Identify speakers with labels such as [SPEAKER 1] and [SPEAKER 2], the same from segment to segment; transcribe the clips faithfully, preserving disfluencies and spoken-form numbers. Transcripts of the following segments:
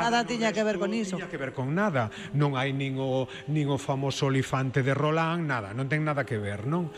[SPEAKER 1] nada tiña que ver con iso.
[SPEAKER 2] Tiña que ver con nada. Non hai nin o, nin o famoso olifante de Roland, nada, non ten nada que ver, non?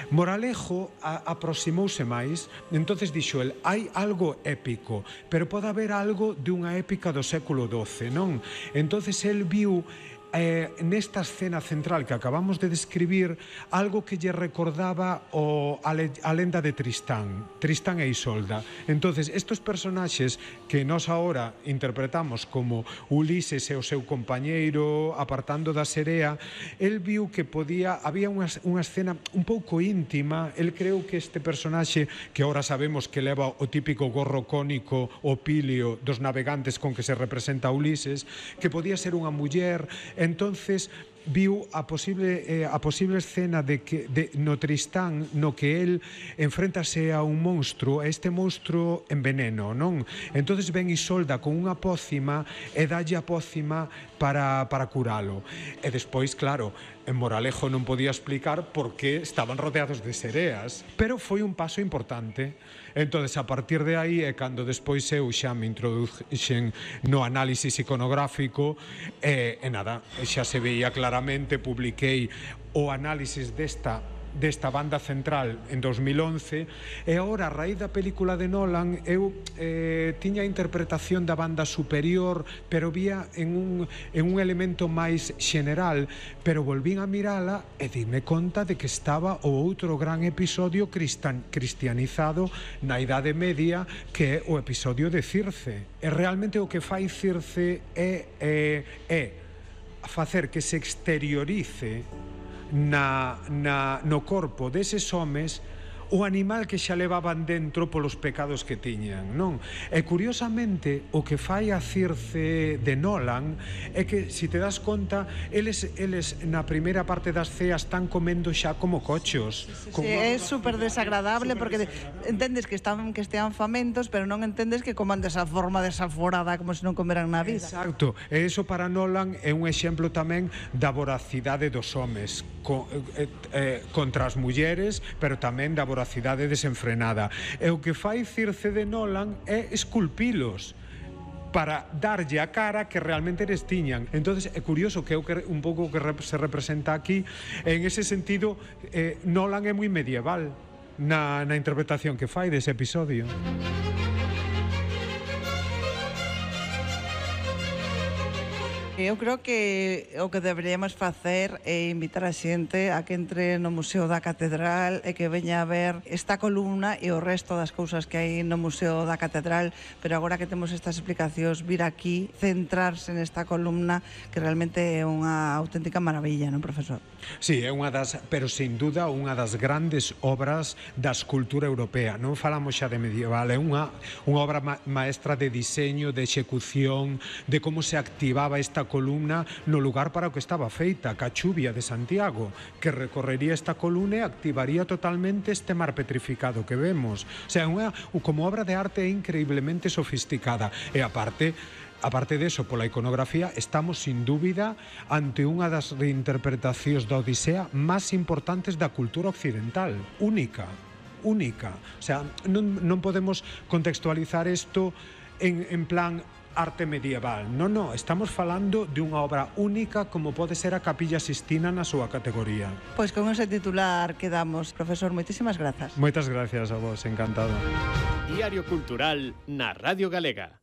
[SPEAKER 2] Moralejo a, aproximouse máis, entonces dixo el, hai algo épico, pero pode haber algo de unha épica do século doce, non? Entonces el viu Eh, nesta escena central que acabamos de describir algo que lle recordaba o, a, le, a lenda de Tristán Tristán e Isolda. Entonces estos personaxes que nós agora interpretamos como Ulises e o seu compañeiro apartando da serea, el viu que podía, había unha, unha escena un pouco íntima. El creu que este personaxe, que agora sabemos que leva o típico gorro cónico o pilio dos navegantes con que se representa a Ulises, que podía ser unha muller. Entonces viu a posible eh, a posible escena de que de, no Tristán no que el enfréntase a un monstruo, a este monstruo en veneno, non? Entonces ven Isolda con unha pócima e dalle a pócima para, para curalo. E despois, claro, en Moralejo non podía explicar por que estaban rodeados de sereas, pero foi un paso importante. Entonces, a partir de aí é cando despois eu xa me introduxen no análisis iconográfico e, e nada, xa se veía claramente, publiquei o análisis desta desta banda central en dos mil once e agora, a raíz da película de Nolan, eu eh, tiña a interpretación da banda superior, pero vía en un, en un elemento máis xeneral, pero volvín a mirala e dime conta de que estaba o outro gran episodio cristan, cristianizado na Idade Media, que é o episodio de Circe. E realmente o que fai Circe é, é, é facer que se exteriorice Na, na, no corpo deses homes o animal que xa levaban dentro polos pecados que tiñan, non? E curiosamente o que fai a Circe de Nolan é que, se te das conta, eles, eles na primeira parte das ceas están comendo xa como cochos.
[SPEAKER 1] Sí, sí, sí, é super desagradable, super porque desagradable. Entendes que están que estean famentos, pero non entendes que coman desa forma desaforada como se non comeran na vida.
[SPEAKER 2] Exacto, e iso para Nolan é un exemplo tamén da voracidade dos homes co, eh, eh, contra as mulleres, pero tamén da voracidade cidade desenfrenada. E o que fai Circe de Nolan é esculpilos para darlle a cara que realmente eles tiñan. Entonces é curioso que é un pouco que se representa aquí. En ese sentido, eh, Nolan é moi medieval na, na interpretación que fai dese episodio.
[SPEAKER 1] Eu creo que o que deberíamos facer é invitar a xente a que entre no Museo da Catedral e que veña a ver esta columna e o resto das cousas que hai no Museo da Catedral, pero agora que temos estas explicacións, vir aquí, centrarse nesta columna que realmente é unha auténtica maravilla, non, profesor?
[SPEAKER 2] Sí, é unha das, pero sin duda unha das grandes obras da escultura europea. Non falamos xa de medieval, é unha, unha obra ma maestra de diseño, de execución, de como se activaba esta columna no lugar para o que estaba feita, Cachuvia de Santiago, que recorrería esta columna e activaría totalmente este mar petrificado que vemos. O sea, unha, como obra de arte increíblemente sofisticada. E aparte, aparte deso, pola iconografía, estamos sin dúbida ante unha das reinterpretacións da Odisea máis importantes da cultura occidental, única, única. O sea, non, non podemos contextualizar isto en, en plan arte medieval. Non, non, estamos falando de unha obra única como pode ser a Capilla Sistina na súa categoría.
[SPEAKER 1] Pois con ese titular quedamos. Profesor, moitísimas grazas.
[SPEAKER 2] Moitas gracias a vos, encantado.
[SPEAKER 3] Diario Cultural na Radio Galega.